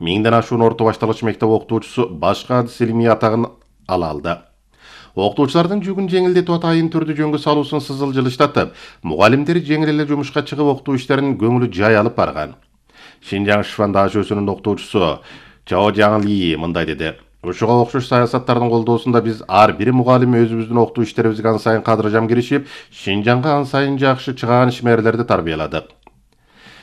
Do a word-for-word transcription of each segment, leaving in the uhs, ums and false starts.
Миңден ашуун орто башталгыч мектеп окутуучусу башка адис илимий атагын ала алды. Окутуучулардын жүгүн жеңилдетип атайын түрдүү жөнгө салуусун сызыл жылыштатып, мугалимдер жеңил эле жумушка чыгып окутуу иштерин көңүлү жай алып барган. Шинжаң Шифан даашөсүнүн окутуучусу Чао Жаңли мындай деди: Ушуга окшош саясаттардын колдоосунда биз ар бир мугалим өзүбүздүн окутуу иштерибизге ан сайын кадыржам киришип, Шинжаңга ан сайын жакшы чыгаан ишмерлерди тарбияладык.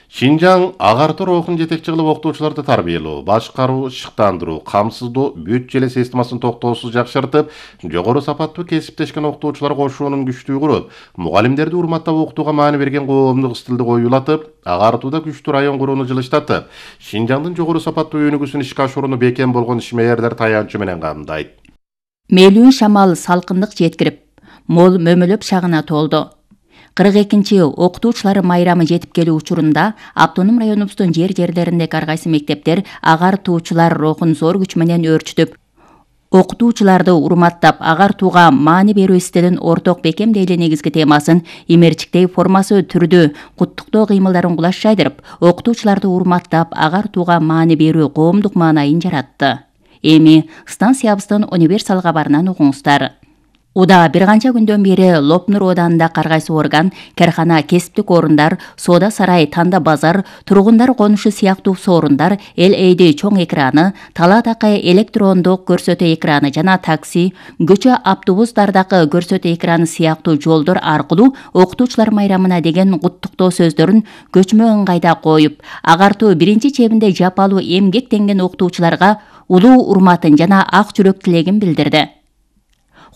Шинжаң агартуу рухун жетекчи кылып окутуучуларды тарбиялоо, башкаруу, шыктандыруу, камсыздоо, бүт желе системасын токтоосуз жакшыртып, жогору сапаттуу кесиптешкен окутуучулар кошуунун күчтүү куруп, мугалимдерди урматтап окутууга маани берген коомдук стилди коюлатып, агартууда күчтүү район курууну жылыштатып, Шинжаңдын жогору сапаттуу өнүгүүсүн ишке ашырууну бекем болгон ишмерлер таянчы менен камдайт. Мээлүүн шамал салкындык жеткирип, мол мөмөлөп шагына толду. кырк экинчи окутуучулар майрамы жетип келүү учурунда автоном районубуздун жер-жерлеринде ар кайсы мектептер агартуучулар рухун зор күч менен өөрчүтүп, окутуучуларды урматтап, агартууга маани берүү стилин орток бекемдей эле негизги темасын имерчиктей формасы түрдүү куттуктоо кыймылдарын кулаш жайдырып, окутуучуларды урматтап, агартууга маани берүү коомдук маанайын жаратты. Эми станциябыздын универсал кабарынан угуңуздар. Уда бир канча күндөн бери Лопнур оданында ар кайсы орган, кархана, кесиптик орундар, соода сарай, танда базар, тургундар конушу сыяктуу соорундар, эл эйди чоң экраны, талаадакы электрондук көрсөтүү экраны жана такси, көчө автобустардагы көрсөтүү экраны сыяктуу жолдор аркылуу окутуучулар майрамына деген куттуктоо сөздөрүн көчмө ыңгайда коюп, агартуу биринчи чебинде жапалуу эмгектенген окутуучуларга улуу урматын жана ак жүрөк тилегин билдирди.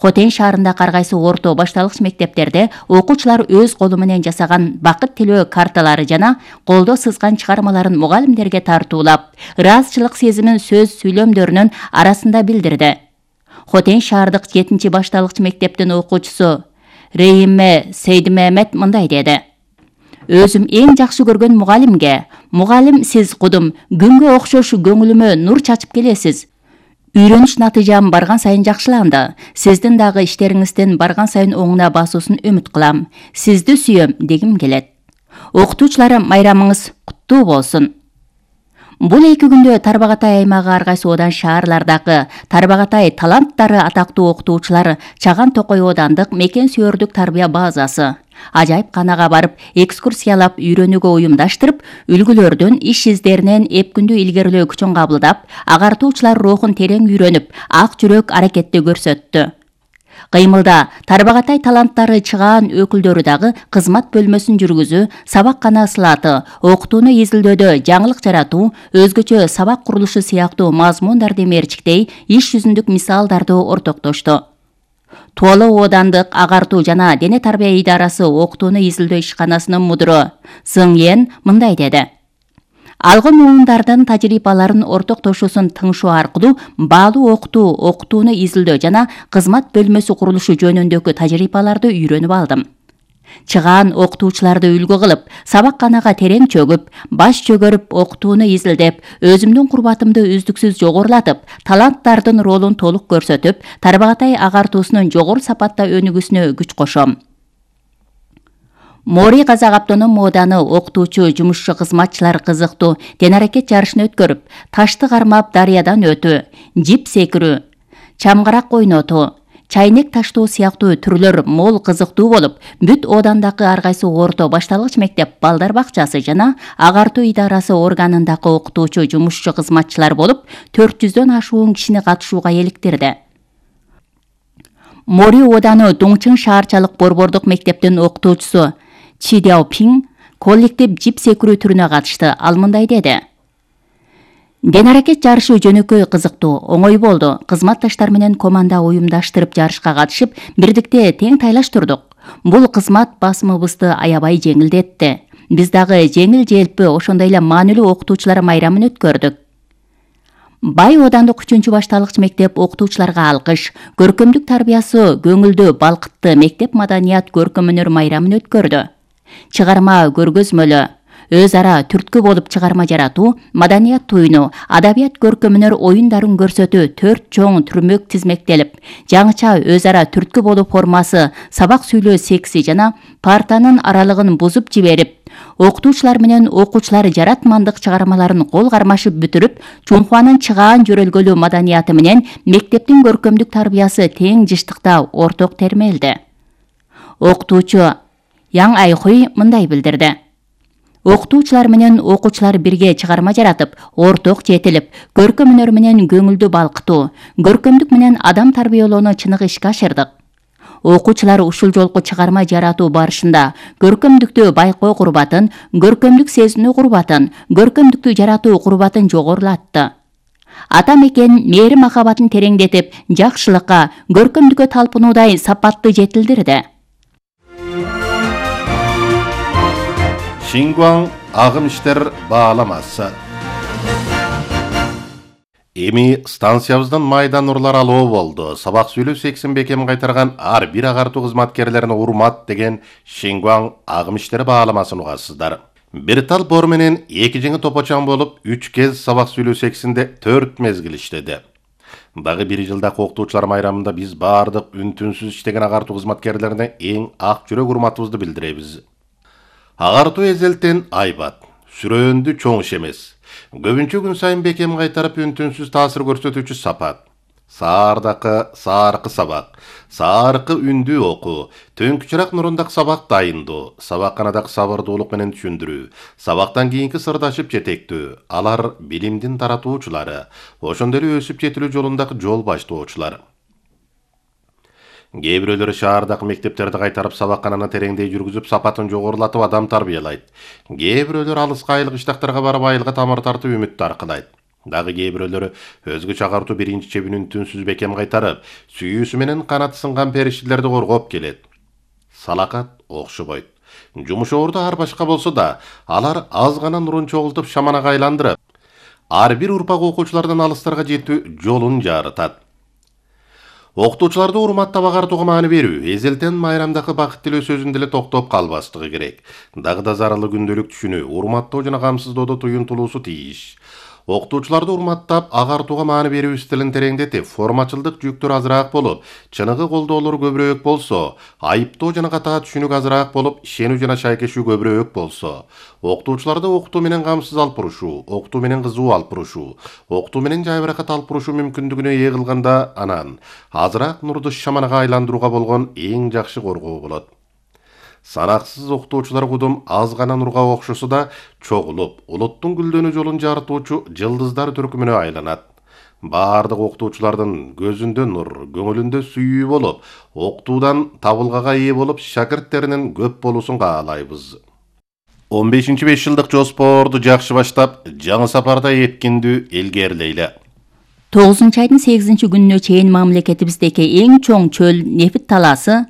Хотен шаарында ар кайсы орто башталгыч мектептерде окуучулар өз колу менен жасаган бакыт тилөө карталары жана колдо сызган чыгармаларын мугалимдерге тартуулап, ыраазычылык сезимин сөз сүйлөмдөрүнүн арасында билдирди. Хотен шаардык жетинчи башталгыч мектептин окуучусу Рейиме Сейдимемет мындай деди: Өзүм эң жакшы көргөн мугалимге, мугалим сиз кудум күнгө окшош көңүлүмө нур чачып келесиз. Үйрөнүш натыйжам барган сайын жакшыланды. Сиздин дагы иштериңиздин барган сайын оңуна басуусын үмүт кылам. Сизди сүйөм дегим келет. Окутуучулар майрамыңыз куттуу болсун. Бул эки күндө Тарбагатай аймагы ар кайсы одан шаарлардагы Тарбагатай таланттары атактуу окутуучулар Чаган Токой одандык мекен сүйөрдүк тарбия базасы ажайып канага барып, экскурсиялап, үйрөнүүгө уюмдаштырып, үлгүлөрдүн иш издеринен эп күндү илгерилөө күчүн кабылдап, агартуучулар рухун терең үйрөнүп, ак жүрөк аракетти көрсөттү. Кыймылда Тарбагатай таланттары чыгаан өкүлдөрү дагы кызмат бөлмөсүн жүргүзүү, сабаккана сылаты, окутууну изилдөөдө жаңылык жаратуу, өзгөчө сабак курулушу сыяктуу мазмундарды мерчиктей, иш жүзүндүк мисалдарды ортоктошту. Туоло оодандык агартуу жана дене тарбия идарасы окутууну изилдөө ишканасынын мудуру Сың Ен мындай деди: Алган муундардын тажрыйбаларын ортоктошуусун тыңшоо аркылуу баалуу окутуу, окутууну изилдөө жана кызмат бөлмөсү курулушу жөнүндөгү тажрыйбаларды үйрөнүп алдым. Чыгаан окутуучуларды үлгү кылып, сабакканага терең чөгүп, баш чөгөрүп, окутууну изилдеп, өзүмдүн курбатымды үздүксүз жогорулатып, таланттардын ролун толук көрсөтүп, Тарбагатай агартуусунун жогору сапатта өнүгүүсүнө күч кошом. Мори Казак автоном ооданы окутуучу жумушчу кызматчылар кызыктуу тен аракет жарышын өткөрүп, ташты кармап дарыядан өтүү, жип секирүү, чамгарак ойнотуу, чайнек таштоо сыяктуу түрлөр мол кызыктуу болуп, бүт оодандагы ар кайсы орто башталгыч мектеп, балдар бакчасы жана агартуу идарасы органындагы окутуучу жумушчу кызматчылар болуп, төрт жүздөн ашуун кишини катышууга эликтирди. Мори ооданы Дуңчың шаарчалык борбордук мектептин окутуучусу Чи Дяопин коллектив жип секирүү түрүнө катышты. Ал мындай деди: Ден аракет жарышы жөнөкөй кызыктуу, оңой болду. Кызматташтар менен команда уюмдаштырып жарышка катышып, бирдикте тең тайлаштырдык. Бул кызмат басымыбызды аябай жеңилдетти. Биз дагы жеңил желпи, ошондой эле маанилүү окутуучулар майрамын өткөрдүк. Бай оодандык үчүнчү башталгыч мектеп окутуучуларга алкыш, көркөмдүк тарбиясы көңүлдүү балкытты мектеп маданият көркөм өнөр майрамын өткөрдү. Чыгарма көргөзмөлө, өз ара түрткү болуп чыгарма жаратуу, маданият туюну, адабият көркөмөнөр оюндарын көрсөтүү төрт чоң түрмөк тизмектелип, жаңыча өз ара түрткү болуу формасы сабак сүйлөө секси жана партанын аралыгын бузуп жиберип, окутуучулар менен окуучулар жаратмандык чыгармаларын кол кармашып бүтүрүп, Чунхуанын чыгаан жөрөлгөлүү маданияты менен мектептин көркөмдүк тарбиясы тең жыштыкта орток термелди. Окутуучу Яң Айхуй мындай билдирди. Окутуучулар менен окуучулар бирге чыгарма жаратып, орток жетилип, көркөм өнөр менен көңүлдү балкытуу, көркөмдүк менен адам тарбиялоону чыныгы ишке ашырдык. Окуучулар ушул жолку чыгарма жаратуу барышында көркөмдүктү байкоо курбатын, көркөмдүк сезинүү курбатын, көркөмдүктү жаратуу курбатын жогорулатты. Ата мекен мээри махабатын тереңдетип, жакшылыкка, көркөмдүккө талпынуудай сапатты жетилдирди. Шингуан агым иштер бааламасы. Эми станциябыздан майдан нурлар алуу болду. Сабак сүйлөө сексин бекем кайтарган ар бир агартуу кызматкерлерине урмат деген Шингуан агым иштери бааламасын угасыздар. Бир тал бор менен эки жеңи топочан болуп, үч кез сабак сүйлөө сексинде төрт мезгил иштеди. Дагы бир жылдак окутуучулар майрамында биз баардык үн-түнсүз иштеген агартуу кызматкерлерине эң ак жүрөк урматыбызды билдиребиз. Агартуу эзелтен айбат, сүрөөндү чоң иш эмес. Көбүнчө күн сайын бекем кайтарып үн-түнсүз таасир көрсөтүүчү сапат. Саардакы сааркы сабак, сааркы үндүү окуу, төңкүчүрак нурундак сабак дайындоо, сабакканадак сабырдуулук менен түшүндүрүү, сабактан кийинки сырдашып жетектөө, алар билимдин таратуучулары, ошондой эле өсүп жетилүү жолундагы жол баштоочулар. Кээ бирөөлөрү шаардагы мектептерди кайтарып сабаккананы тереңдей жүргүзүп, сапатын жогорулатып адам тарбиялайт. Кээ бирөөлөр алыска айылык иштактарга барып айылга тамыр тартып үмүттү аркылайт. Дагы кээ бирөөлөрү өзгөчө агартуу биринчи чебин үн-түнсүз бекем кайтарып, сүйүүсү менен канаты сынган периштелерди коргоп келет. Салакат окшобойт. Жумуш орду ар башка болсо да, алар аз гана нурун чогултуп шаманага айландырып, ар бир урпак окуучулардан алыстарга жетүү жолун жарытат. Окутуучуларды урматтап агартууга маани берүү, эзелтен майрамдагы бакыт тилөө сөзүндө эле токтоп калбастыгы керек. Дагы да зарылы күндөлүк түшүнүү, урматтоо жана камсыздоодо туюнтулуусу тийиш. Окутуучуларды урматтап агартууга маани берүү стилин тереңдетип, формачылдык жүктөр азыраак болуп, чыныгы колдоолор көбүрөөк болсо, айыптоо жана катаа түшүнүк азыраак болуп, ишенүү жана шайкешүү көбүрөөк болсо, окутуучуларды окутуу менен камсыз алып бурушуу, окутуу менен кызуу алып бурушуу, окутуу менен жайбыракат алып бурушуу мүмкүндүгүнө ээ кылганда, анан азыраак нурду шаманага айландырууга болгон эң жакшы коргоо болот. Санаксыз окутуучулар кудум аз гана нурга окшосо да чогулуп, улуттун гүлдөнүү жолун жарытуучу жылдыздар түркүмүнө айланат. Баардык окутуучулардын көзүндө нур, көңүлүндө сүйүү болуп, окутуудан табылгага ээ болуп, шакирттеринин көп болуусун каалайбыз. он бешинчи беш жылдык жоспорду жакшы баштап, жаңы сапарда эткиндүү илгерилейли. тогузунчу айдын сегизинчи күнүнө чейин мамлекетибиздеги эң чоң чөл нефит талаасы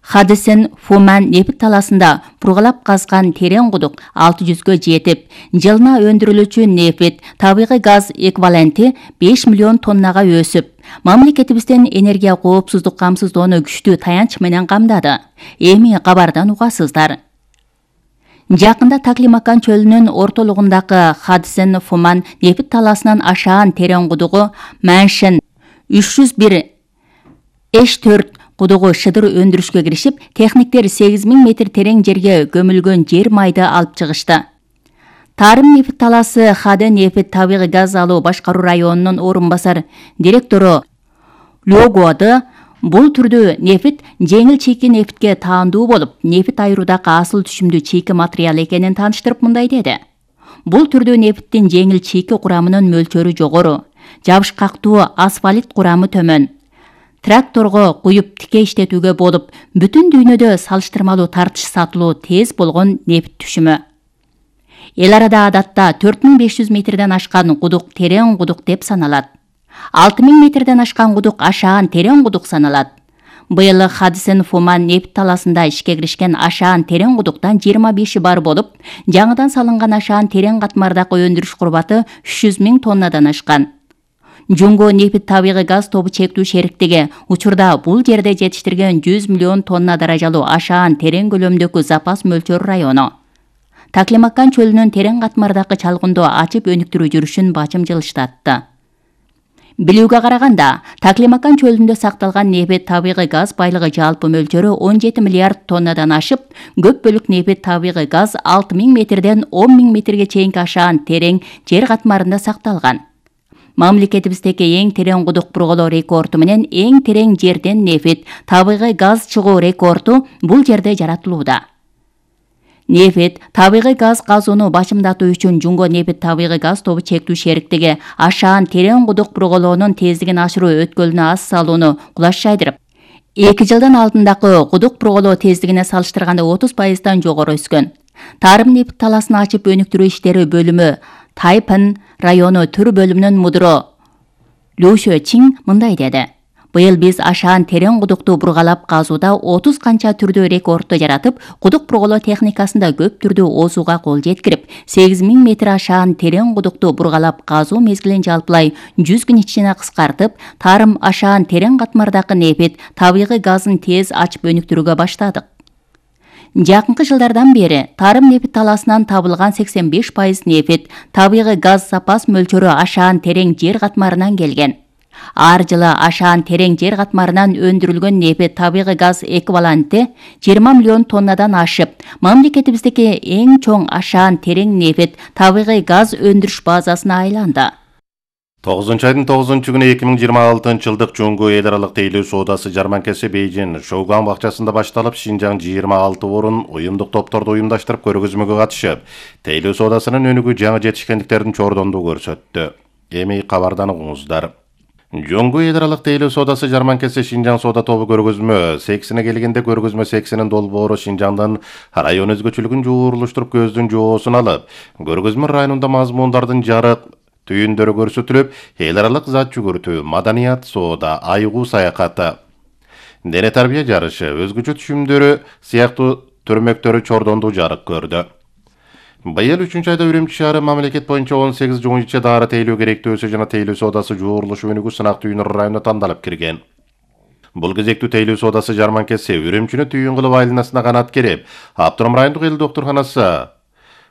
Хадисен Фуман нефит таласында пургалап казган терең кудук алты жүзгө жетип, жылына өндүрүлүүчү нефит табигый газ эквиваленти беш миллион тоннага өсүп, мамлекетибиздин энергия коопсуздук камсыздоону күчтүү таянч менен камдады. Эми кабардан угасыздар. Жакында Таклимакан чөлүнүн ортолугундагы Хадисен Фуман нефит таласынын ашаан терең кудугу Маншин үч жүз бир эш төрт кудугу шыдыр өндүрүшкө киришип, техниктер сегиз миң метр терең жерге көмүлгөн жер майды алып чыгышты. Тарым нефит таласы Хаде нефит табигый газ алуу башкаруу районунун орун басар директору Лёгуады бул түрдүү нефит жеңил чийки нефитке таандуу болуп, нефит айыруудагы асыл түшүмдүү чийки материал экенин тааныштырып мындай деди. Бул түрдүү нефиттин жеңил чийки курамынын мөлчөрү жогору, жабышкактуу асфалт курамы төмөн. Тракторго куюп тике иштетүүгө болуп, бүтүн дүйнөдө салыштырмалуу тартыш сатылуу тез болгон нефит түшүмү. Эл арада адатта төрт миң беш жүз метрден ашкан кудук терең кудук деп саналат. алты миң метрден ашкан кудук ашаан терең кудук саналат. Быйыл Хадисен Фуман нефит таласында ишке киришкен ашаан терең кудуктан жыйырма беши бар болуп, жаңыдан салынган ашаан терең катмардагы өндүрүш курбаты үч жүз миң тоннадан ашкан. Жунго нефит табигый газ тобу чектүү шериктиги учурда бул жерде жетиштирген жүз миллион тонна даражалуу ашаан терең көлөмдөгү запас мөлчөр району. Таклимакан чөлүнүн терең катмардагы чалгындоо ачып өнүктүрүү жүрүшүн бачымжылыштатты. Билүүгө караганда, Таклимакан чөлүндө сакталган нефт табигый газ байлыгы жалпы мөлчөрү он жети миллиард тоннадан ашып, көп бөлүк нефт табигый газ алты миң метрден он миң метрге чейинки ашаан терең жер катмарында сакталган. Мамлекетибиздеги эң терең кудук бурголоо рекорду менен эң терең жерден нефт табигый газ чыгуу рекорду бул жерде жаратылууда. Нефт табигый газ казууну бачымдатуу үчүн Жунго нефт табигый газ тобу чектүү шериктиги ашаан терең кудук бурголоонун тездигин ашыруу өткөлүнө ас салууну кулаш жайдырып, эки жылдын алдындагы кудук бурголоо тездигине салыштырганда отуз пайыздан жогору өскөн. Тарым нефт таласын ачып өнүктүрүү иштери бөлүмү Тайпан району түр бөлүмүнүн мудуру Лю Чин мындай деди: Быйыл биз ашаан терең кудукту бургалап казууда отуз канча түрдүү рекордду жаратып, кудук бурголоо техникасында көп түрдүү оозууга кол жеткирип, сегиз миң метр ашаан терең кудукту бургалап казуу мезгилин жалпылай жүз күн ичине кыскартып, тарым ашаан терең катмардагы нефт табигый газын тез ачып өнүктүрүүгө баштадык. Жакынкы жылдардан бери тарым нефт таласынан табылган сексен беш пайыз нефт табигый газ запас мөлчөрү ашаан терең жер катмарынан келген. Ар жылы ашаан терең жер катмарынан өндүрүлгөн нефт табигый газ эквиваленти жыйырма миллион тоннадан ашып, мамлекетибиздеги эң чоң ашаан терең нефт табигый газ өндүрүш базасына айланды. тогузунчу айдын тогузунчу күнү эки миң жыйырма алтынчы жылдык Жуңгу эл аралык тейлөө соодасы жарманкасы Бейжин Шоуган бакчасында башталып, Шинжаң жыйырма алты орун уюмдук топторду уюмдаштырып көргөзмөгө катышып, тейлөө соодасынын өнүгүү жаңы жетишкендиктерин чордондуу көрсөттү. Эми кабардан угуңуздар. Жуңгу эл аралык тейлөө соодасы жарманкасы Шинжаң соода тобу көргөзмө сексине келгенде көргөзмө сексинин долбоору Шинжаңдын район өзгөчөлүгүн жуурулуштуруп көздүн жоосун алып, көргөзмө районунда мазмундардын жарык түйүндөрү көрсөтүлүп, эл аралык зат жүгүртүү, маданият, соода, айгуу саякаты, дене тарбия жарышы, өзгөчө түшүмдөрү сыяктуу төрмөктөрү чордондуу жарык көрдү. Быйыл үчүнчү айда Үрүмчү шаары мамлекет боюнча он сегиз жугунчу дары тейлөө керектөөсү жана тейлөө соодасы жуурулуш өнүгүү сынак түйүнү районуна тандалып кирген. Бул кезектүү тейлөө соодасы жарманкасы Үрүмчүнү түйүн кылып айланасына канат керип, Аптурам райондук эл доктурханасы,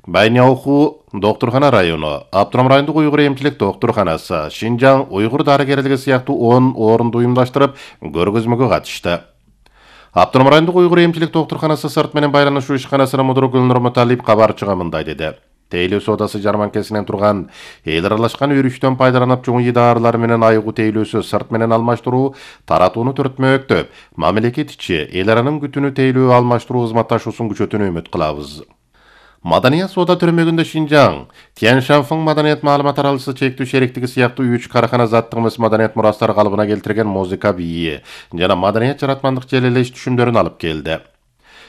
Байняуху доктурхана району, Аптурам райондук уйгур эмчилик доктурханасы, Шинжаң уйгур дарыгерлиги сыяктуу он орунду уюмдаштырып, көргөзмөгө катышты. Аптурам райондук уйгур эмчилик доктурханасы сырт менен байланышуу ишканасынын мудуру Гүлнур Муталип кабарчыга мындай деди: Тейлөө соодасы жарманкасынан турган эл аралашкан өрүштөн пайдаланып чоң дарылар менен айгуу тейлөөсү сырт менен алмаштыруу таратууну төртмөктөп, мамлекет ичи эл аранын күтүнү тейлөө алмаштыруу кызматташуусун күчөтүүнү үмүт кылабыз. Маданият соода төрмөгүндө Шинжаң, Тяньшанфың маданият маалымат аралышы чектүү шериктиги сыяктуу үч карахана заттык эмес маданият мурастары калыбына келтирген музыка бийи жана маданият жаратмандык желелеш түшүмдөрүн алып келди.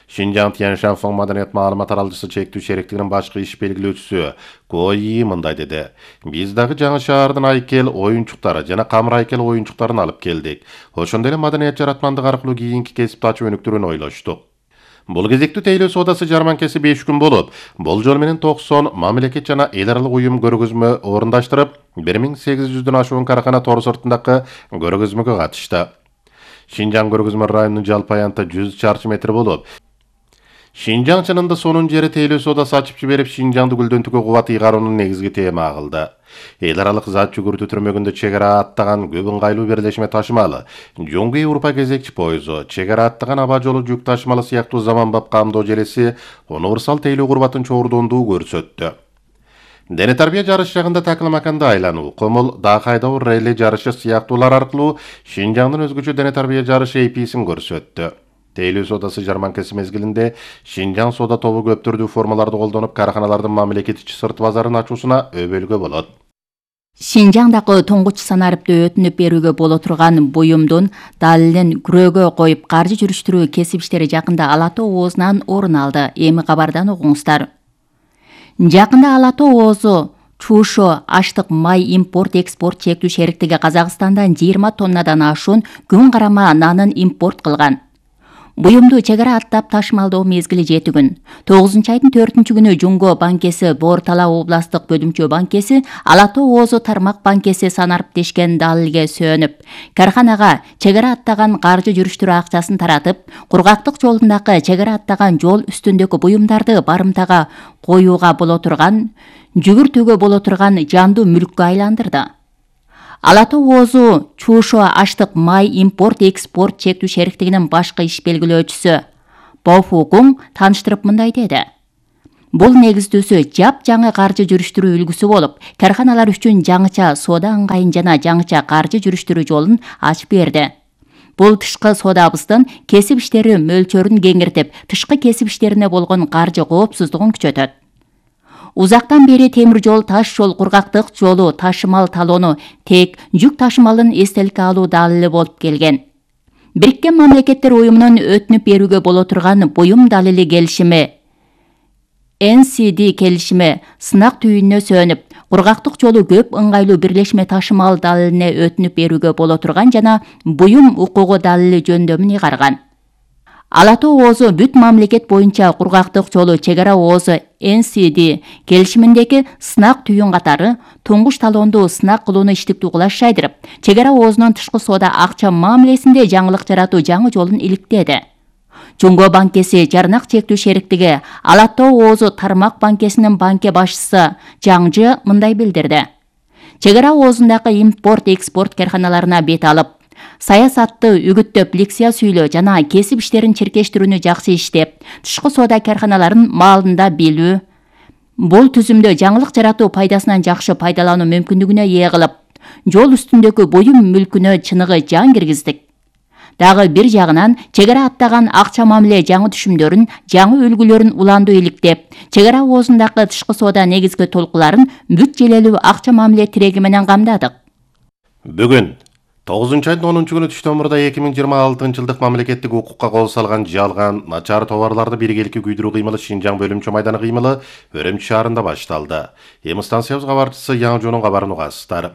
Шинжаң Тяньшанфың маданият маалымат аралышы чектүү шериктигинин башкы иш белгилөөчүсү Кои мындай деди: Биз дагы жаңы шаардын айкел оюнчуктары жана камыр айкел оюнчуктарын алып келдик. Ошондой эле маданият жаратмандык аркылуу кийинки кесипти ачып өнүктүрүүнү ойлоштук. Бул кезектүү тейлөө соодасы жарманкасы беш күн болуп, болжол менен токсон мамлекет жана эл аралык уюм көргөзмө орундаштырып, бир миң сегиз жүздөн ашуун карахана тор сыртындагы көргөзмөгө катышты. Шинжаң көргөзмө районунун жалпы аянты жүз чарчы метр болуп, Шинжаң чынында сонун жери тейлөө соодасы ачып жиберип, Шинжаңды гүлдөнтүүгө кубат ыйгаруунун негизги тема кылды. Эл аралык зат жүгүртүү түрмөгүндө чек ара аттаган көп ыңгайлуу берлешме ташымалы, Жуңгу Европа кезекчи пойызу, чек ара аттаган аба жолу жүк ташымалы сыяктуу заманбап камдоо желеси универсал тейлөө курбатын чордондуу көрсөттү. Дене тарбия жарыш жагында Таклимаканда айлануу, комул даа кайдоо релли жарышы сыяктуулар аркылуу Шинжаңдын өзгөчө дене тарбия жарышы эписин көрсөттү. Тейлөө соодасы жарманкасы мезгилинде Шинжаң соода тобу көп түрдүү формаларды колдонуп, караханалардын мамлекет ичи сырт базарын ачуусуна өбөлгө болот. Шинжаңдагы тоңгуч санарыпты өтүнүп берүүгө боло турган буюмдун далилин күрөөгө коюп каржы жүрүштүрүү кесип иштери жакында Ала Тоо оозунан орун алды. Эми кабардан угуңуздар. Жакында Ала Тоо оозу Чушо аштык май импорт экспорт чектүү шериктиги Казакстандан жыйырма тоннадан ашуун күн карама нанын импорт кылган. Буюмду чек ара аттап ташымалдоо мезгили жети күн. тогузунчу айдын төртүнчү күнү Жунго банкеси, Боор-Тала областык бөлүмчө банкеси, Ала Тоо Оозу тармак банкеси санарып дешкен далилге сөөнүп, карханага чек ара аттаган каржы жүрүштүрүү акчасын таратып, кургактык жолундагы чек ара аттаган жол үстүндөгү буюмдарды барымтага коюуга боло турган, жүгүртүүгө боло турган жандуу мүлккө айландырды. Ала Тоо Оозу Чуушо аштык май импорт экспорт чектүү шериктигинин башкы иш белгилөөчүсү Бо Фукуң тааныштырып мындай деди. Бул негиздүүсү жап жаңы каржы жүрүштүрүү үлгүсү болуп, карханалар үчүн жаңыча соода ыңгайын жана жаңыча каржы жүрүштүрүү жолун ачып берди. Бул тышкы соодабыздын кесип иштери мөлчөрүн кеңиртип, тышкы кесип иштерине болгон каржы коопсуздугун күчөтөт. Узактан бери темир жол, таш жол, кургактык жолу ташымал талоону тек жүк ташымалын эстеликке алуу далили болуп келген. Бириккен Мамлекеттер Уюмунун өтүнүп берүүгө боло турган буюм далили келишими Эн Си Ди келишими сынак түйүнүнө сөөнүп, кургактык жолу көп ыңгайлуу бирлешме ташымал далилине өтүнүп берүүгө боло турган жана буюм укугу далили жөндөмүн ыйгарган. Ала Тоо Оозу бүт мамлекет боюнча кургактык жолу чек ара Оозу Эн Си Ди келишиминдеги сынак түйүн катары туңгуш талоонду сынак кылууну иштиктүү кылаш жайдырып, чек ара Оозунун тышкы соода акча мамилесинде жаңылык жаратуу жаңы жолун иликтеди. Жунго банкеси жарнак чектүү шериктиги Ала Тоо Оозу тармак банкесинин банке башчысы Жаңжы мындай билдирди. Чек ара Оозундагы импорт экспорт карханаларына бет алып, саясатты үгүттөп, лекция сүйлөө жана кесип иштерин чиркештирүүнү жакшы иштеп, тышкы соода карханаларын маалында билүү, бул түзүмдө жаңылык жаратуу пайдасынан жакшы пайдалануу мүмкүндүгүнө ээ кылып, жол үстүндөгү буюм мүлкүнө чыныгы жан киргиздик. Дагы бир жагынан чек ара аттаган акча мамиле жаңы түшүмдөрүн, жаңы үлгүлөрүн уландуу иликтеп, чек ара Оозундагы тышкы соода негизги толкуларын бүт желелүү акча мамиле тиреги менен камдадык. Бүгүн тогузунчу айдын онунчу күнү түштөмүрдө эки миң жыйырма алтынчы жылдык мамлекеттик укукка кол салган жалган, начар товарларды биргеликке күйдүрүү кыймылы Шинжаң бөлүмчө майданы кыймылы Өрөмчү шаарында башталды. Эми станциябыз кабарчысы Яңжонун кабарын угасыздар.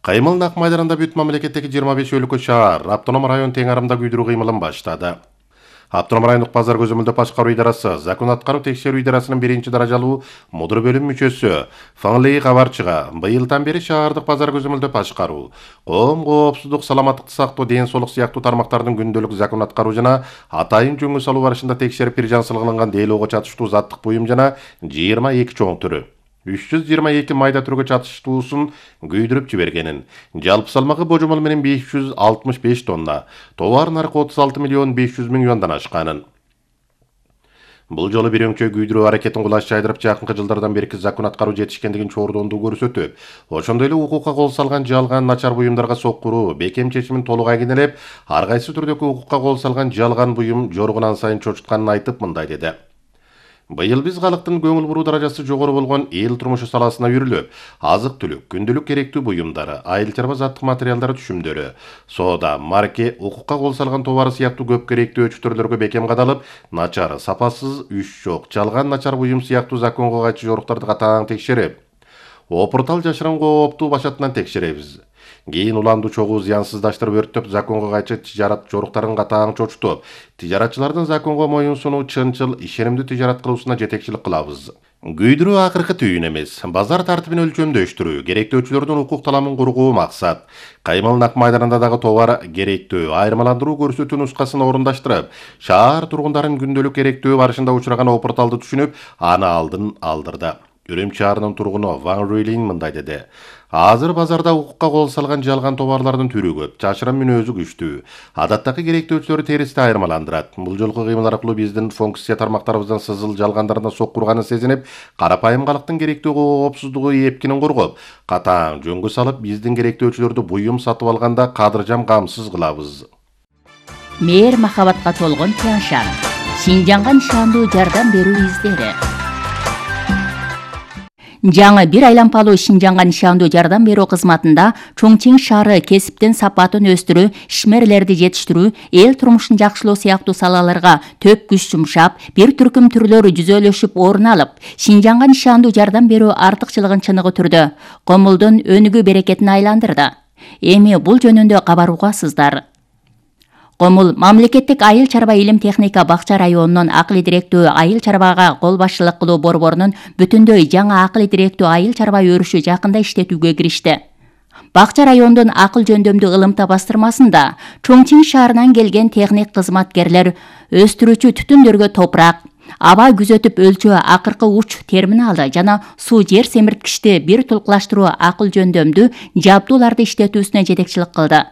Кыймыл Нак майданында бүт мамлекеттеги жыйырма беш өлкө шаар, автоном район тең арымда күйдүрүү кыймылын баштады. Автоном райондук базар көзөмөлдөө башкаруу идарасы, закон аткаруу текшерүү идарасынын биринчи даражалуу мудур бөлүм мүчөсү Фаңлей кабарчыга быйылдан бери шаардык базар көзөмөлдөө башкаруу, коом коопсуздук, саламаттыкты сактоо, ден соолук сыяктуу тармактардын күндөлүк закон аткаруу жана атайын жөнгө салуу барышында текшерип бир жансылыгын дейлоого чатыштуу заттык буюм жана жыйырма эки чоң түрү үч жүз жыйырма эки майда түргө чатыштуусун күйдүрүп жибергенин, жалпы салмагы божомол менен беш жүз алтымыш беш тонна, товар наркы отуз алты миллион беш жүз миң юандан ашканын. Бул жолу бир өңчө күйдүрүү аракетин кулаш жайдырып, жакынкы жылдардан берки закон аткаруу жетишкендигин чоордондуу көрсөтүп, ошондой эле укукка кол салган жалган, начар буюмдарга соккуруу, бекем чечимин толук айгинелеп, ар кайсы түрдөгү укукка кол салган жалган буюм жоргунан сайын чочутканын айтып мындай деди. Быйыл биз калктын көңүл буруу даражасы жогору болгон эл турмушу саласына үйрүлүп, азык-түлүк, күндүлүк керектүү буюмдары, айыл чарба заттык материалдар түшүмдөрү, соода, марке, укукка кол салган товары сыяктуу көп керектүү өчүттөрлөргө бекем кадалып, начар, сапасыз, үч жок, жалган начар буюм сыяктуу законго кайчы жоруктарды катаң текшерип, опуртал жашырын кооптуу башатынан текшеребиз. Кийин уланду чогуу зыянсыздаштырып өрттөп, законго кайчы тижарат жоруктарын катаң чочутуп, тижаратчылардын законго моюнсунуу, чынчыл, ишенимдүү тижарат кылуусуна жетекчилик кылабыз. Күйдүрүү акыркы түйүн эмес, базар тартибин өлчөмдөштүрүү, керектөөчүлөрдүн укук таламын кургуу максат. Кыймыл Нак майданында дагы товар керектөө, айырмаландыруу көрсөтүү нускасын орундаштырып, шаар тургундарын күндөлүк керектөө барышында учураган опурталды түшүнүп, аны алдын алдырды. Өрөмчү шаарынын тургуну Ван Руйлин мындай деди. Азыр базарда укукка кол салган жалган товарлардын түрү көп, жашырын мүнөзү күчтүү. Адаттагы керектөөчүлөрү теристе айырмаландырат. Бул жолку кыймыл аркылуу биздин функция тармактарыбыздын сызыл жалгандарына соккурганын сезинип, карапайым калктын керектүү коопсуздугу эпкинин коргоп, катаң жөнгө салып, биздин керектөөчүлөрдү буюм сатып алганда кадыржам камсыз кылабыз. Мээр махабатка толгон Тяншан, Шинжаңга нишандуу жардам берүү издери. Жаңы бир айлампалуу Шинжаңга нишандуу жардам берүү кызматында Чоңчиң шаары кесиптин сапатын өстүрүү, ишмерлерди жетиштирүү, эл турмушун жакшылоо сыяктуу салаларга төп күч жумшап, бир түркүм түрлөр жүзөлөшүп орун алып, Шинжаңга нишандуу жардам берүү артыкчылыгын чыныгы түрдө комулдун өнүгүү берекетине айландырды. Эми бул жөнүндө кабар угасыздар. Комул мамлекеттик айыл чарба илим техника бакча районунун акыл директүү айыл чарбага кол башчылык кылуу борборунун бүтүндөй жаңа акыл директүү айыл чарба өрүшү жакында иштетүүгө киришти. Бакча райондун акыл жөндөмдүү ылымта бастырмасында Чоңчиң шаарынан келген техник кызматкерлер өстүрүүчү түтүндөргө топурак, аба күзөтүп өлчөө акыркы уч терминалды жана суу жер семирткичти бир тулкулаштыруу акыл жөндөмдүү жабдууларды иштетүүсүнө жетекчилик кылды.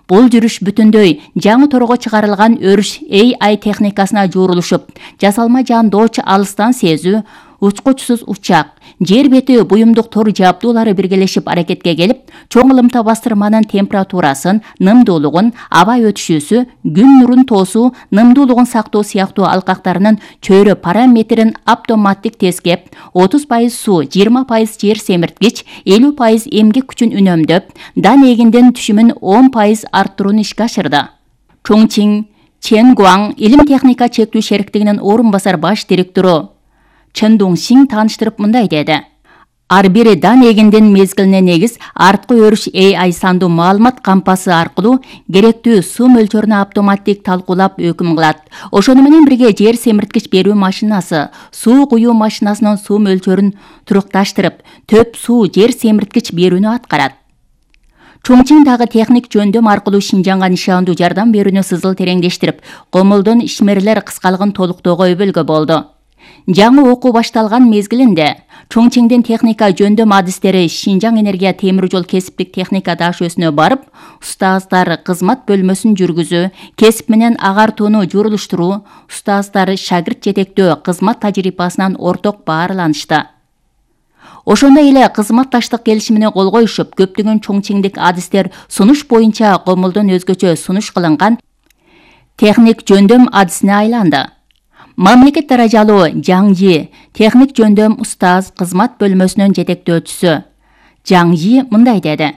Бул жүрүш бүтүндөй жаңы торго чыгарылган өрүш A I техникасына жуурулушуп, жасалма жандооч алыстан сезүү, учкучсуз учак, жер бети буюмдук тор жабдуулары биргелешип аракетке келип, чоң ылымта бастырманын температурасын, нымдуулугун, аба өтүшүүсү, күн нурун тоосуу, нымдуулугун сактоо сыяктуу алкактарынын чөйрө параметрин автоматтик тескеп, отуз пайыз суу, жыйырма пайыз жер семирткич, элүү пайыз эмгек күчүн үнөмдөп, дан эгиндин түшүмүн он пайыз арттырууну ишке ашырды. Чоңчиң Ченгуаң илим техника чектүү шериктигинин орун басар баш директору Чен Доңсиң тааныштырып мындай деди. Ар бир дан эгиндин мезгилине негиз арткы өрүш A I сандуу маалымат кампасы аркылуу керектүү суу мөлчөрүнө автоматтик талкуулап өкүм кылат. Ошону менен бирге жер семирткич берүү машинасы суу куюу машинасынын суу мөлчөрүн турукташтырып, төп суу жер семирткич берүүнү аткарат. Чоңчиң дагы техник жөндөм аркылуу Шинжаңга нишандуу жардам берүүнү сызыл тереңдештирип, Комулдун ишмерлер кыскалыгын толуктоого өбөлгө болду. Жаңы окуу башталган мезгилинде Чоңчиңдин техника жөндөм адистери Шинжаң энергия темир жол кесиптик техника дашөөсүнө барып, устаздар кызмат бөлмөсүн жүргүзүү, кесип менен агартууну журулуштуруу, устаздар шагирт жетектөө кызмат тажрыйбасынан орток баарланышты. Ошондой эле кызматташтык келишимине кол коюшуп, көптөгөн чоңчиңдик адистер сунуш боюнча Комулдун өзгөчө сунуш кылынган техник жөндөм адисине айланды. Мамлекет даражалуу Жаңжи техник жөндөм устаз кызмат бөлмөсүнүн жетектөөчүсү Жаңжи мындай деди.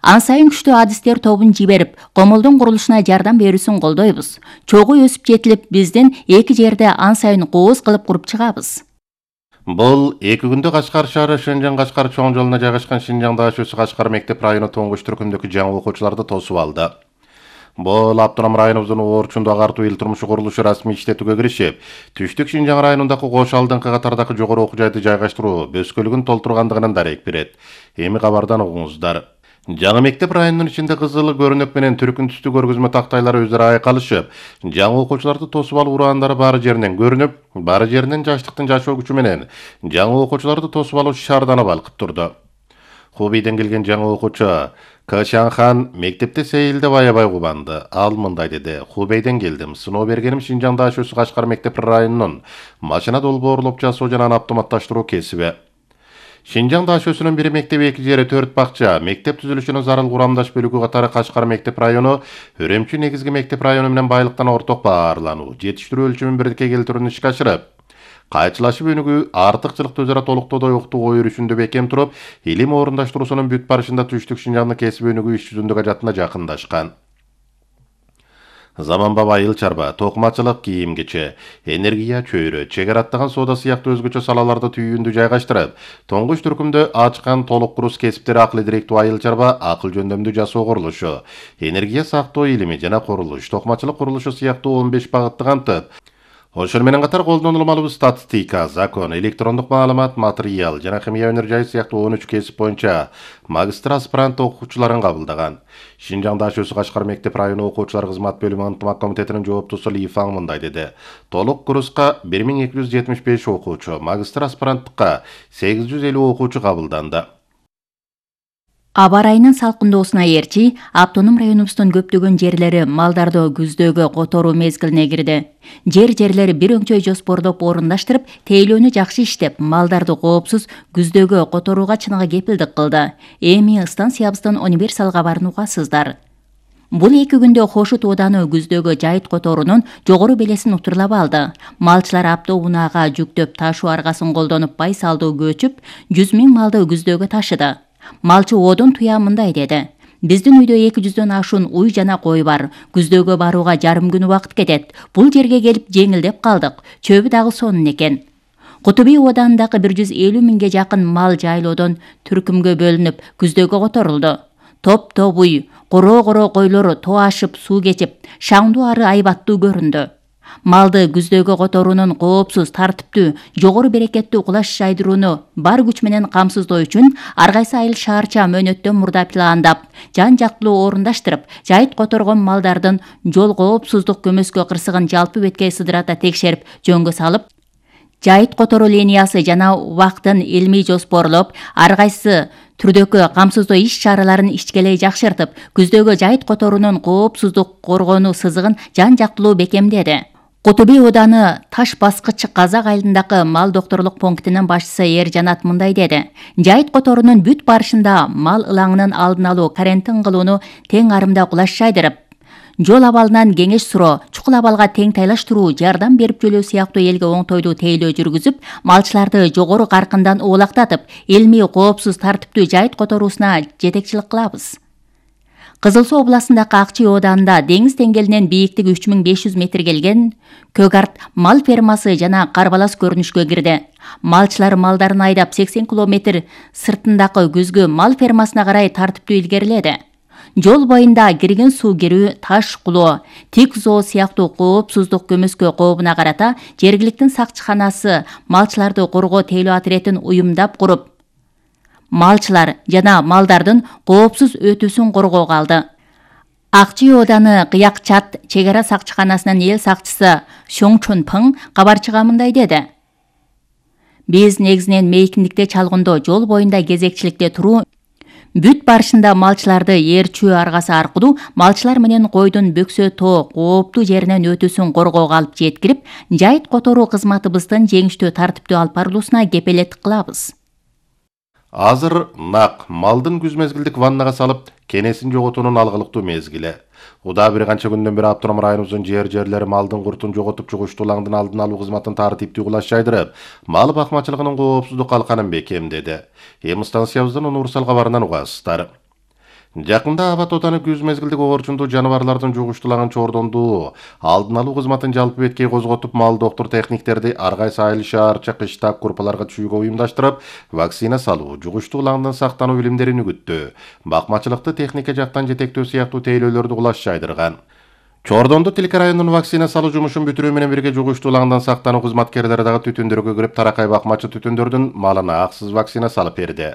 Ан сайын күчтүү адистер тобун жиберип, Комулдун курулушуна жардам берүүсүн колдойбуз. Чогуу өсүп жетилип, биздин эки жерде ан сайын кооз кылып куруп чыгабыз. Бул эки күндө Кашкар шаары Шенжен Кашкар чоң жолуна жайгашкан Шинжаң дашөөсү Кашкар мектеп району тоңгуч түркүмдөгү жаңы окуучуларды тосуп алды. Бул автоном районубуздун Орчунду агартуу эл турмушу курулушу расмий иштетүүгө киришип, Түштүк Шинжаң районундагы кош алдыңкы катардагы жогору окуу жайды жайгаштыруу бөскөлүгүн толтургандыгынан дарек берет. Эми кабардан угуңуздар. Жаңы мектеп районунун ичинде кызыл көрүнөк менен түркүн түстүү көргөзмө тактайлары өзүрө айкалышып, жаңы окуучуларды тосуп алуу ураандары баары жеринен көрүнүп, баары жеринен жаштыктын жашоо күчү менен жаңы окуучуларды тосуп алуу шаарданып балкып турду. Хубейден келген жаңы окуучу Качанхан мектепте сейилдеп аябай кубанды. Ал мындай деди. Хубейден келдим. Сыноо бергеним Шинжаң дашөөсү Кашкар мектеп районунун машина долбоорлоп жасоо жана автоматташтыруу кесиби. Шинжаң дашөөсүнүн бир мектеп, эки жери, төрт бакча, мектеп түзүлүшүнүн зарыл курамдаш бөлүгү катары Кашкар мектеп району Өрөмчү негизги мектеп району менен байлыктан орток баарлануу, жетиштирүү өлчөмүн бирдикке келтирүүнү ишке ашырып, кайчылашып өнүгүү, артыкчылыкты өзара толуктоодой уктуу ой өрүшүндө бекем туруп, илим орундаштыруусунун бүт барышында Түштүк Шинжаңдын кесип өнүгүү иш жүзүндөгү ажатына жакындашкан. Заманбап айыл чарба, токмачылык, кийим кече, энергия чөйрө, чегара аттаган соода сыяктуу өзгөчө салаларды түйүүндү жайгаштырып, тоңгуч түркүмдө ачкан толук курус кесиптери акыл директүү айыл чарба, акыл жөндөмдүү жасоо курулушу, энергия сактоо илими жана курулуш, токмачылык курулушу сыяктуу он беш багытты камтып, ошол менен катар колдонулмалуу статистика, закон, электрондук маалымат, материал жана химия өнөр жайы сыяктуу он үч кесип боюнча магистр аспирант окуучуларын кабылдаган. Шинжаң дашөөсү Кашкар мектеп району окуучулар кызмат бөлүмү ынтымак комитетинин жооптусу Ли Фаң мындай деди. Толук курска бир миң эки жүз жетимиш беш окуучу, магистр аспиранттыкка сегиз жүз элүү окуучу кабылданды. Аба ырайынын салкындоосуна ээрчи, автоном районубуздун көптөгөн жерлери малдарды күздөгү которуу мезгилине кирди. Жер-жерлери бир өңчөй жоспордоп орундаштырып, тейлөөнү жакшы иштеп, малдарды коопсуз күздөгү которууга чыныгы кепилдик кылды. Эми станциябыздын универсал кабарын угасыздар. Бул эки күндө Хошут ооданы күздөгү жайыт которуунун жогору белесин утурлап алды. Малчылар автоунаага жүктөп ташуу аргасын колдонуп байсалдуу көчүп, жүз миң малды күздөгү ташыды. Малчы оодон туя мындай деди. Биздин үйдө эки жүздөн ашуун уй жана кой бар. Күздөгө барууга жарым күн убакыт кетет. Бул жерге келип жеңилдеп калдык. Чөбү дагы сонун экен. Кутуби ооданындагы бир жүз элүү миңге жакын мал жайлоодон түркүмгө бөлүнүп, күздөгө которулду. Топ-топ уй, Коро-коро койлор тоо ашып суу кечип, шаңдуу ары айбаттуу көрүндү. Малды күздөгү которуунун коопсуз, тартиптүү, жогору берекеттүү кулаш жайдырууну бар күч менен камсыздоо үчүн ар кайсы айыл шаарча мөөнөттөн мурда пландап, жан жактылуу орундаштырып, жайыт которгон малдардын жол коопсуздук көмөскө кырсыгын жалпы беткей сыдырата текшерип, жөнгө салып, жайыт которуу линиясы жана убактын илмий жоспорлоп, ар кайсы түрдөгү камсыздоо иш-чараларын ичкелей жакшыртып, күздөгү жайыт которуунун коопсуздук коргонуу сызыгын жан жактылуу бекемдеди. Куту би ооданы Таш баскыч Казак айылындагы мал докторлук пунктунун башчысы Эржанат мындай деди. Жайыт которуунун бүт барышында мал ылаңынын алдын алуу, карантин кылууну тең арымда кулаш жайдырып, жол абалынан кеңеш суроо, чукул абалга тең тайлаштыруу, жардам берип жөлөө сыяктуу элге оңтойлуу тейлөө жүргүзүп, малчыларды жогору каркындан оолактатып, илмий коопсуз тартиптүү жайыт которуусуна жетекчилик кылабыз. Кызыл Суу областындагы Акчы ооданында деңиз деңгээлинен бийиктиги үч миң беш жүз метр келген Көгарт мал фермасы жана Карбалас көрүнүшкө кирди. Малчылар малдарын айдап сексен километр сыртындагы күзгү мал фермасына карай тартиптүү илгериледи. Жол боюнда кирген суу кирүү, таш кулоо, тик зоо сыяктуу коопсуздук көмөскө кообуна карата жергиликтин сакчыканасы малчыларды коргоо тейлөө отрядын уюмдап куруп, малчылар жана малдардын коопсуз өтүүсүн коргоого алды. Акчы ооданы Кыякчат чек ара сакчыканасынын эл сакчысы Шоң Чон Пың кабарчыга мындай деди. Биз негизинен мейкиндикте чалгындоо, жол боюнда кезекчиликте туруу, бүт барышында малчыларды ээрчүү аргасы аркылуу малчылар менен койдун бөксө тоо кооптуу жеринен өтүүсүн коргоого алып жеткирип, жайыт которуу кызматыбыздын жеңиштүү тартиптүү алып барылуусуна кепелеттик кылабыз. Азыр нак малдын күз мезгилдик ваннага салып, кенесин жоготуунун алгылыктуу мезгили. Уда бир канча күндөн бери Автономдун районубуздун жер-жерлери малдын куртун жоготуп, жугуштуу улаңдын алдын алуу кызматын тартиптүү кулаш жайдырып, мал бакмачылыгынын коопсуздук калканын бекемдеди. Эми станциябыздын универсал кабарынан угасыздар. Жакында Абат ооданы күз мезгилдик оорчундуу жаныбарлардын жугуштуу улаңын чордондуу алдын алуу кызматын жалпы беткей козготуп, мал доктор техниктерди ар кайсы айыл шаарча кышта курпаларга түшүүгө уюмдаштырып, вакцина салуу, жугуштуу улаңдан сактануу билимдерин үгүттөө, бакмачылыкты техника жактан жетектөө сыяктуу тейлөөлөрдү кулаш жайдырган. Чордондо Тилке районунун вакцина салуу жумушун бүтүрүү менен бирге жугуштуу улаңдан сактануу кызматкерлери дагы түтүндөргө кирип, таракай бакмачы түтүндөрдүн малына аксыз вакцина салып берди.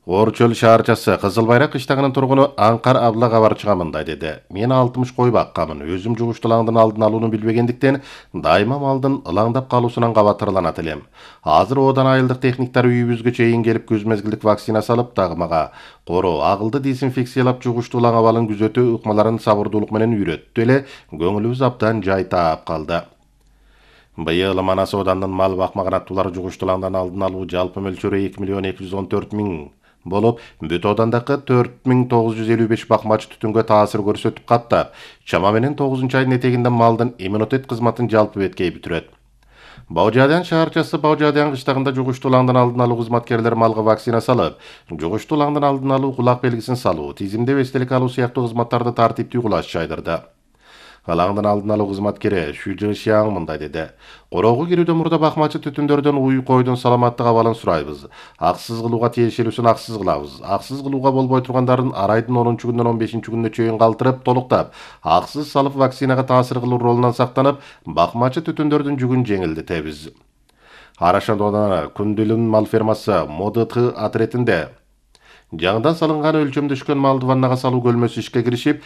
Орчөл шаарчасы Кызыл Байрак кыштагынын тургуну Аңкар Абла кабарчыга мындай деди. Мен алтымыш кой баккамын. Өзүм жугуштуу улаңдын алдын алууну билбегендиктен дайыма малдын ылаңдап калуусунан кабатырланат элем. Азыр оодан айылдык техниктер үйүбүзгө чейин келип күз мезгилдик вакцина салып, дагы мага короо, агылды дезинфекциялап, жугуштуу улаң абалын күзөтүү ыкмаларын сабырдуулук менен үйрөттү эле, көңүлүбүз абдан жай таап калды. Быйыл Манас оодандын мал бакмаган аттуулар жугуштуу улаңдан алдын алуу жалпы мөлчөрү эки миллион эки жүз он төрт миң болуп, бүт оодандагы төрт миң тогуз жүз элүү беш бакмач түтүнгө таасир көрсөтүп каттап, чама менен тогузунчу айдын этегинде малдын иммунитет кызматын жалпы беткей бүтүрөт. Баужадян шаарчасы Баужадян кыштагында жугуштуу улаңдан алдын алуу кызматкерлери малга вакцина салып, жугуштуу улаңдан алдын алуу, кулак белгисин салуу, тизимдеп эстелик алуу сыяктуу кызматтарды тартиптүү кулаш жайдырды. Алаңдын алдын алуу кызматкери Шүжө Шияң мындай деди. Короого кирүүдөн мурда бакмачы түтүндөрдөн уй койдун саламаттык абалын сурайбыз. Аксыз кылууга тиешелүүсүн аксыз кылабыз. Аксыз кылууга болбой тургандарын ар айдын онунчу күнүнөн он бешинчи күнүнө чейин калтырып, толуктап, аксыз салып вакцинага таасир кылуу ролунан сактанып, бакмачы түтүндөрдүн жүгүн жеңилдетебиз. Арашандоодон Күндүлүн мал фермасы МОДТ отрядында жаңыдан салынган өлчөмдө түшкөн малды ваннага салуу көлмөсү ишке киришип,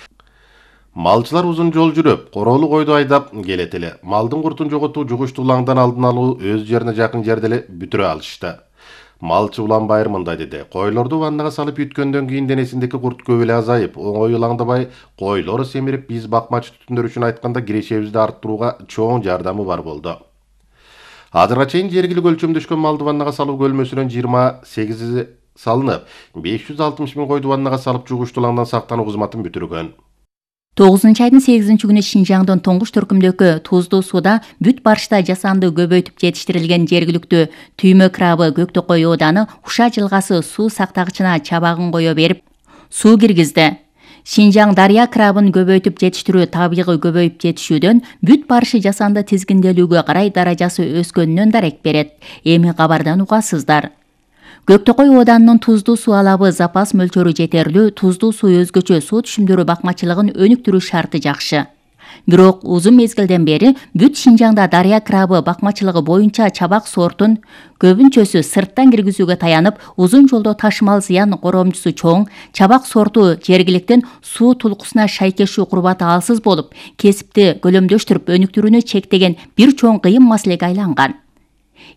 малчылар узун жол жүрүп, короолу койду айдап келет эле. Малдын куртун жоготуу, жугуштуу улаңдан алдын алуу өз жерине жакын жерде эле бүтүрө алышты. Малчы Улан Байыр мындай деди. Койлорду ваннага салып юткөндөн кийин денесиндеки курт көп эле азайып, оңой улаңдабай, койлор семирип, биз бакмачы түтүндөр үчүн айтканда кирешебизди арттырууга чоң жардамы бар болду. Азырга чейин жергилик өлчөмдө түшкөн малды ваннага салуу көлмөсүнөн жыйырма сегизи салынып, беш жүз алтымыш миң койду ваннага салып, жугуштуу улаңдан сактануу кызматын бүтүргөн. тогузунчу айдын сегизинчи күнү Шинжаңдын Тоңгуш төркүмдөгү Туздуу сууда бүт барышта жасанды көбөйтүп жетиштирилген жергиликтүү түймө крабы Көктөкөй ооданы Уша жылгасы суу сактагычына чабагын кое берип, суу киргизди. Шинжаң дарыя крабын көбөйтүп жетиштирүү табигый көбөйүп жетишүүдөн бүт барышы жасанды тизгинделүүгө карай даражасы өскөнүнөн дарек берет. Эми кабардан угасыздар. Көктөкөй ооданынын туздуу суу алабы запас мөлчөрү жетерлүү, туздуу суу өзгөчө суу түшүмдөрү бакмачылыгын өнүктүрүү шарты жакшы. Бирок узун мезгилден бери бүт Шинжаңда дарыя крабы бакмачылыгы боюнча чабак сортун көбүнчөсү сырттан киргизүүгө таянып, узун жолдо ташымал зыян коромчусу чоң, чабак сорту жергиликтин суу тулкусуна шайкештүү курбаты алсыз болуп, кесипти көлөмдөштүрүп өнүктүрүүнү чектеген бир чоң кыйын маселеге айланган.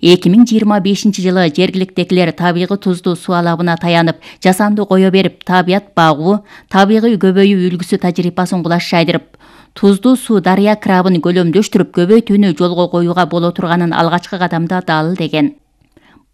эки миң жыйырма бешинчи жылы жергиликтегилер табигый туздуу суу алабына таянып, жасанды кое берип, табият багуу, табигый көбөйүү үлгүсү тажрыйбасын кулаш жайдырып, туздуу суу дарыя крабын көлөмдөштүрүп көбөйтүүнү жолго коюуга боло турганын алгачкы кадамда далилдеген.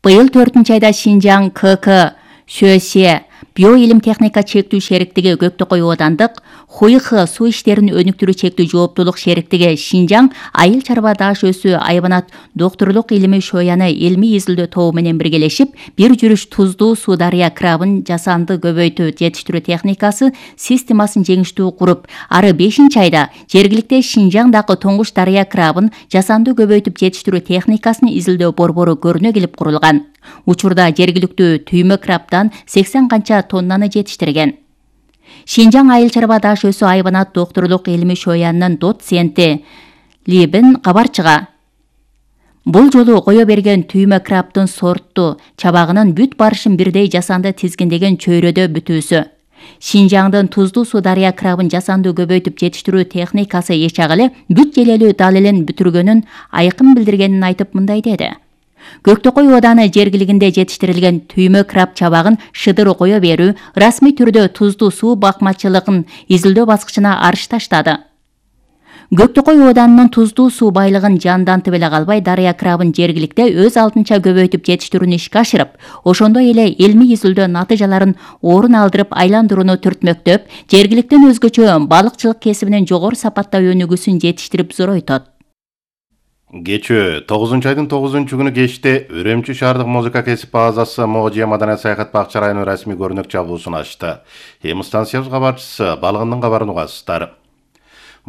Быйыл төртүнчү айда Шинжаң КК ШС Биоилим техника чектүү шериктиги Көктөкөй оодандык, ХУИХ суу иштерин өнүктүрүү чектүү жооптуулук шериктиги Шинжаң айыл чарба даш өсүү айбанат доктурлук илими шояны илмий изилдөө тобу менен биргелешип, бир жүрүш туздуу суу дарыя крабын жасанды көбөйтүү жетиштирүү техникасы системасын жеңиштүү куруп, ары бешинчи айда жергиликте Шинжаңдагы тоңуш дарыя крабын жасанды көбөйтүп жетиштирүү техникасын изилдөө борбору көрүнө келип курулган. Учурда жергиликтүү түймө крабдан сексен канча тоннаны жетиштирген. Шинжаң айыл чарба даш өсүү айбанат доктурлук илими шоянынын доценти Либин кабарчыга. Бул жолу кое берген түймө крабдын сортту чабагынын бүт барышын бирдей жасанды тизгиндеген чөйрөдө бүтүүсү. Шинжаңдын туздуу суу дарыя крабын жасанды көбөйтүп жетиштирүү техникасы эч агыле бүт желелүү далилин бүтүргөнүн айкын билдиргенин айтып мындай деди. Көктөкөй ооданы жергилигинде жетиштирилген түймө краб чабагын шыдыр кое берүү, расмий түрдө туздуу суу бакмачылыгын изилдөө баскычына арыш таштады. Көктөкөй ооданынын туздуу суу байлыгын жандантып эле калбай, дарыя крабын жергиликте өз алдынча көбөйтүп жетиштирүүнү ишке ашырып, ошондой эле илмий изилдөө натыйжаларын орун алдырып айландырууну түртмөктөп, жергиликтен өзгөчө балыкчылык кесибинин жогору сапатта өнүгүүсүн жетиштирип зоройтот. Кечөө тогузунчу айдын тогузунчу күнү кечте Үрөмчү шаардык музыка кесип базасы Можия маданият саякат бакча району расмий көрүнөк чабуусун ачты. Эми станциябыз кабарчысы балыгындын кабарын угасыздар.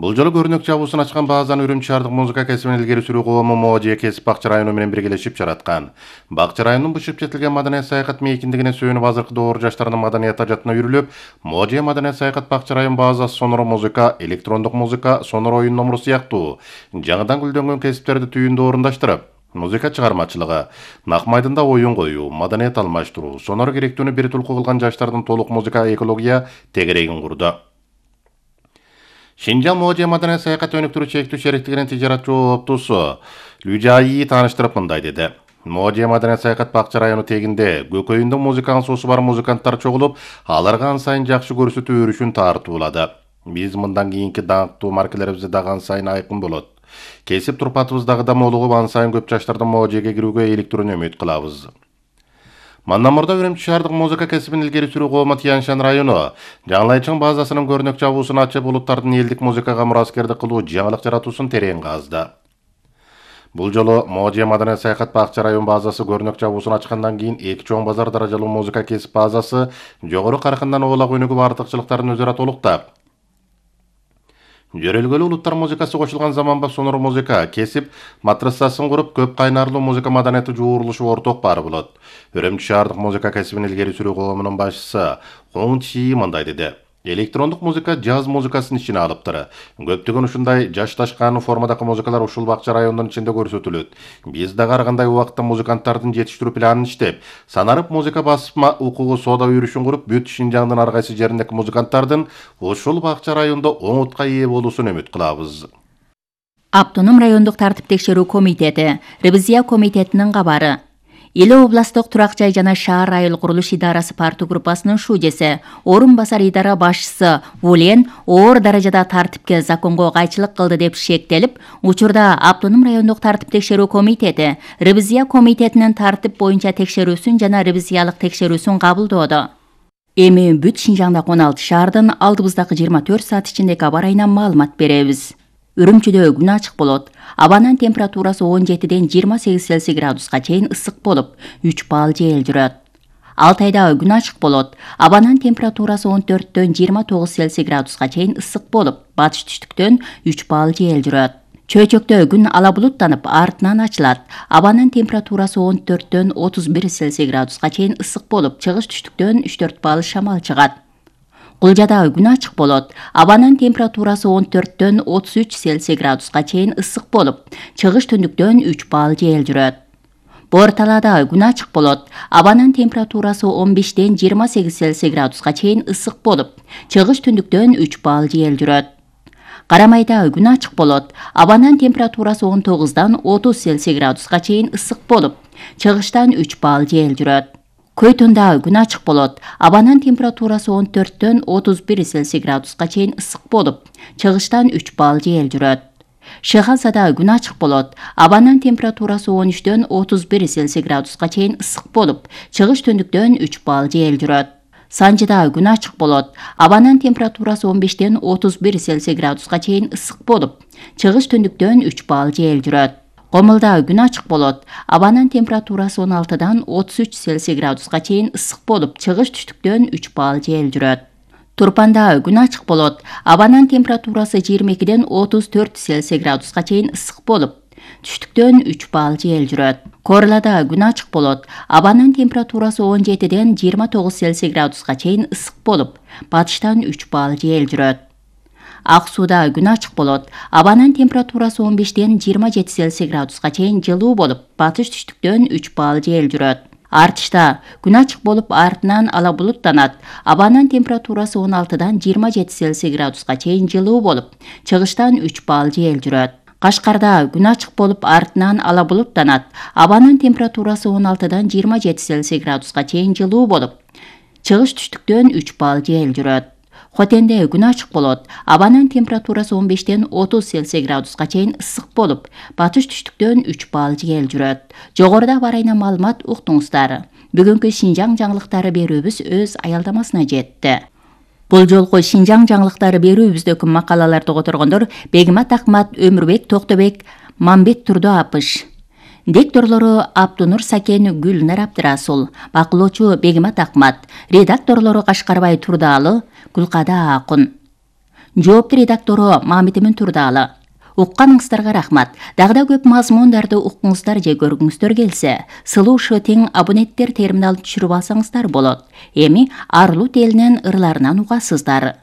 Бул жолу көрүнөк чабуусун ачкан базаны Үрөмчү шаардык музыка кесибин илгери сүрүү коому Можия кесип бакча району менен биргелешип жараткан. Бакча районунун бышып жетилген маданият саякат мейкиндигине сөөнүп, азыркы доор жаштардын маданият ажатына үйрүлүп, Можия маданият саякат бакча район базасы сонор музыка, электрондук музыка, сонор оюн номуру сыяктуу жаңыдан гүлдөнгөн кесиптерди түйүндө орундаштырып, музыка чыгармачылыгы, нак майдында оюн коюу, маданият алмаштыруу, сонор керектүүнү бир тулку кылган жаштардын толук музыка экология тегерегин курду. Шинжаң Можия маданият саякат өнүктүрүү чектүү шериктигинин тижарат жооптуусу Лүжаи тааныштырып мындай деди. Можия маданият саякат бакча району тегинде көкөйүндө музыканын суусу бар музыканттар чогулуп, аларга ан сайын жакшы көрсөтүү өрүшүн тартуулады. Биз мындан кийинки даңктуу маркелерибизде дагы ан сайын айкын болот. Кесип турпатыбыз дагы да молугуп, ан сайын көп жаштардын Можияга кирүүгө иликтүүнү үмүт кылабыз. Мандан мурда Үрөмчү шаардык музыка кесибин илгери сүрүү коому Тянь-Шань району Жаңылайчың базасынын көрүнөк чабуусун ачып, улуттардын элдик музыкага мураскердик кылуу, жаңылык жаратуусун терең казды. Бул жолу Можия маданият саякат бакча район базасы көрүнөк чабуусун ачкандан кийин эки чоң базар даражалуу музыка кесип базасы жогору каркындан оолак өнүгүп, артыкчылыктарын өзара толуктап, жөрөлгөлүү улуттар музыкасы кошулган заманбап сонор музыка кесип матрассасын куруп, көп кайнарлуу музыка маданияты жуурулушу орток баары болот. Үрөмчү шаардык музыка кесибин илгери сүрүү коомунун башчысы Хоң Чи мындай деди. Электрондук музыка жаз музыкасын ичине алыптыр. Көптөгөн ушундай жашташкан формадагы музыкалар ушул бакча районунун ичинде көрсөтүлөт. Биз дагы ар кандай убакытта музыканттардын жетиштирүү планын иштеп, санарып музыка басма укугу соода үйрүшүн куруп, бүт Шинжаңдын ар кайсы жериндеги музыканттардын ушул бакча райондо оңутка ээ болуусун үмүт кылабыз. Автоном райондук тартип текшерүү комитети, ревизия комитетинин кабары. Эле областтык турак жай жана шаар айыл курулуш идарасы парту группасынын шужеси, орун басар идара башчысы Вулен оор даражада тартипке, законго кайчылык кылды деп шектелип, учурда автоном райондук тартип текшерүү комитети ревизия комитетинин тартип боюнча текшерүүсүн жана ревизиялык текшерүүсүн кабылдоодо. Эми бүт Шинжаңдагы он алты шаардын алдыбыздагы жыйырма төрт саат ичинде кабар айынан маалымат беребиз. Үрүмчүдө күн ачык болот. Абанын температурасы он жетиден жыйырма сегиз Цельсий градуска чейин ысык болуп, үч балл жел жүрөт. Алтайда күн ачык болот. Абанын температурасы он төрттөн жыйырма тогуз Цельсий градуска чейин ысык болуп, батыш түштүктөн үч балл жел жүрөт. Чөйчөктө күн ала булуттанып, артынан ачылат. Абанын температурасы он төрттөн отуз бир Цельсий градуска чейин ысык болуп, чыгыш-түштүктөн үч төрт балл шамал чыгат. Кулжада күн ачык болот. Абанын температурасы он төрттөн отуз үч Цельсий градуска чейин ысык болуп, чыгыш-түндүктөн үч балл жел жүрөт. Борталада күн ачык болот. Абанын температурасы он бештен жыйырма сегиз Цельсий градуска чейин ысык болуп, чыгыш-түндүктөн үч балл жел жүрөт. Карамайда күн ачык болот. Абанын температурасы он тогуздан отуз Цельсий градуска чейин ысык болуп, чыгыштан үч балл жел жүрөт. Көйтүндө күн ачык болот. Абанын температурасы он төрттөн отуз бир Цельсий градуска чейин ысык болуп, чыгыштан үч балл жел жүрөт. Шыхансада күн ачык болот. Абанын температурасы он үчтөн отуз бир Цельсий градуска чейин ысык болуп, чыгыш-түндүктөн үч балл жел жүрөт. Санжыда күн ачык болот. Абанын температурасы он бештен отуз бир Цельсий градуска чейин ысык болуп, чыгыш-түндүктөн үч балл жел жүрөт. Комулда күн ачык болот. Абанын температурасы он алтыдан отуз үч Цельсий градуска чейин ысык болуп, чыгыш-түштүктөн үч балл жел жүрөт. Турпанда күн ачык болот. Абанын температурасы жыйырма экиден отуз төрт Цельсий градуска чейин ысык болуп, түштүктөн үч балл жел жүрөт. Корлада күн ачык болот. Абанын температурасы он жетиден жыйырма тогуз Цельсий градуска чейин ысык болуп, батыштан үч балл жел жүрөт. Ак сууда күн ачык болот. Абанын температурасы он бештен жыйырма жети Цельсий градуска чейин жылуу болуп, батыш түштүктөн үч балл жел жүрөт. Артышта күн ачык болуп, артынан ала булуттанат. Абанын температурасы он алтыдан жыйырма жети Цельсий градуска чейин жылуу болуп, чыгыштан үч балл жел жүрөт. Кашкарда күн ачык болуп, артынан ала булуттанат. Абанын температурасы он алтыдан жыйырма жети Цельсий градуска чейин жылуу болуп, чыгыш-түштүктөн үч балл жел жүрөт. Хотенде күн ачык болот. Абанын температурасы он бештен отуз Цельсий градуска чейин ысык болуп, батыш-түштүктөн үч балл жел жүрөт. Жогоруда бар айна маалымат уктуңуздар. Бүгүнкү Шинжаң жаңылыктары берүүбүз өз аялдамасына жетти. Бул жолку Шинжаң жаңылыктары берүүбүздөгү макалаларды которгондор Бегимат Акмат, Өмүрбек Токтобек, Мамбет Турду Апыш. Дикторлору Абдунур Сакен, Гүлнар Абдырасул, бакылоочу Бегимат Акмат, редакторлору Кашкарбай Турдаалы, Гүлкада Акун. Жоопту редактору Мамитимин Турдаалы. Укканыңыздарга рахмат. Дагы да көп мазмундарды уккуңуздар же көргүңүздөр келсе, сылуушу тең абоненттер терминалын түшүрүп алсаңыздар болот. Эми Арлут элинин ырларынан угасыздар.